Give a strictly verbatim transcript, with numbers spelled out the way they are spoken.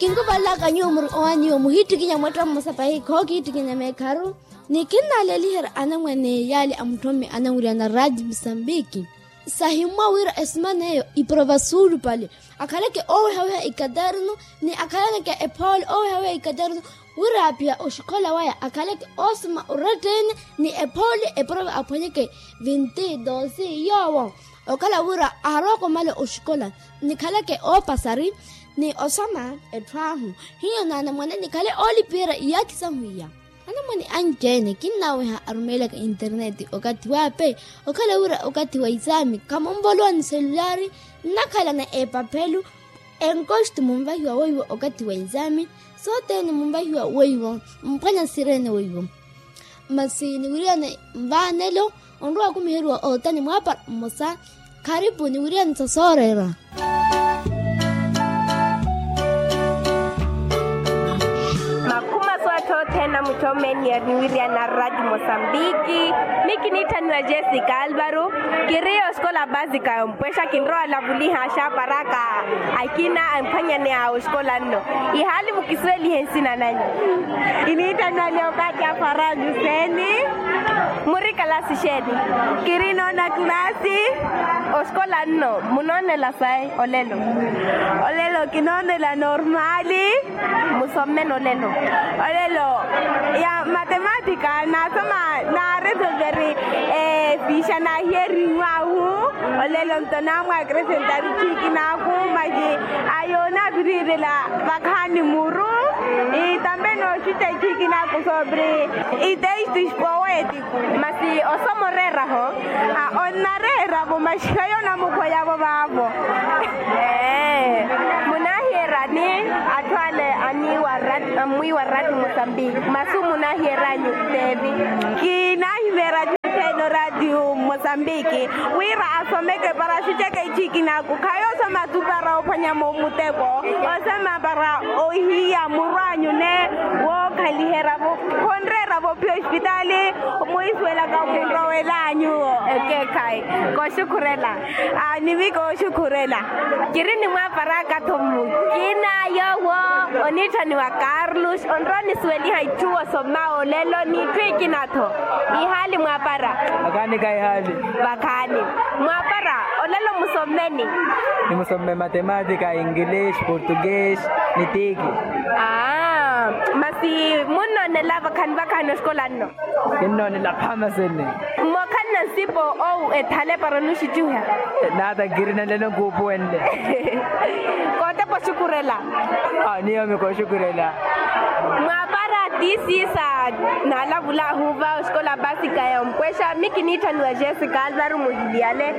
Kinkuvalaka nyuwo muri owaani iwo muhiittikinya mwetta mmosa pahi khookihiittikinya meekharu. Ni kinnaaleliherya anamwane yaali a mutthomme anamwiriyana raati musambiki. Sahimmwa wira esimana eyo iprova suulupale akhaleke oowehaweha ikaternu ni akhaleke ephoole oowehaweha ikaternu wira aapiha oxikhola waya akhaleke oosoma orettene ni ephoole eprova aphwanyeke vinti dosi yoowo. Okhala wira aarowa okomala oxikola nikhaleke oopasari ni osoma etthu ahu hiyo naanamwane nikhale oolipiherya iyaakhi sahu iya. Anamwane anci-ene kinnaaweha arumeelaka interneti okathi waape okhala wira okathi wa isaami khamunvolowa ni selulari nnakhalana epaphelu. Enkoxti munvahiwa weiwo okathi wa isaami sothene munvahiwa weiwo mphwanya sirene weiwo. Masi niwiriyane nvaanelo onrowa akumiheriwa ootani mwaapara mmosa. Kharipu niwiriyane sa sooreera. Makhuma sootthothena mutthommeni niwiriyana raati mosambiki. Mikiniitthaniwa jessica alvaro. Kiri oxikola basika yompwexa kinrowa olavuliha axaaparaka akina amphwanyani a oxikola nno. Ihaali mukisuwelihe nsina nanyu. Kiniitthaniwa leokati a farajo seni. Muri kalasi xeeni? Kiri noona kalasi. Oxikola nno munoonela sayi olelo? Olelo kinoonela normali. Musommene olelo? Olelo ya matematika naasoma naaresolveri. Fiixa naahiyeriwe ahu. Olelo nto naamwaakresentari ichiikinaaku maji ayo naaviriirela vakhaani muru. Tambe nooxuta ichiikinaaku sobre itextos poéticos. Masi osoma oreeraho? Onnareeravo maxi khayo namukhweyavo vaavo. Munaahiyeryani atthu ale aniiwa ammwiiwa raati mosambiki masu munaahiyeryani? Teevi. Kinaahimeerya atthu ene oraati mosambiki wira asomeke para axuceke ichiikinaaku khayo osoma tu para ophwanya muteko. Osoma para ohiya muru anyu ne wookhaliheryavo khonreeryavo phi ospitaali. Mwiisuwelaka okhunrowela anyuwo. Ekeekhayi. Kooxukhurela. Nimi kooxukhurela. Kiri ni mwaaparaka-tho mukina yoowo oniitthaniwa carlos onrowa onisuweliha itthu osoma olelo n'itthu ikina-tho. Ihaali mwaapara? Vakhaani khayi ihaali. Vakhaani. Mwaapara olelo musommeni? Nimusomme matematika ingilish portugues ni tiiki. Masi munnoonela vakhaani vakhaani oxikola nno? Kinnoonela phamasene. Mokhalana nsipo owu ethale para onuxucuha? Naata nkirina nlelo nkuupuwenle. Kootepa oxukhurela. Niyomi kooxukhurela. Mwaapara tiisiisa. Naalavulahu va oxikola basika ya ompwexa mikiniitthaniwa jessica alvaro muhiliyale.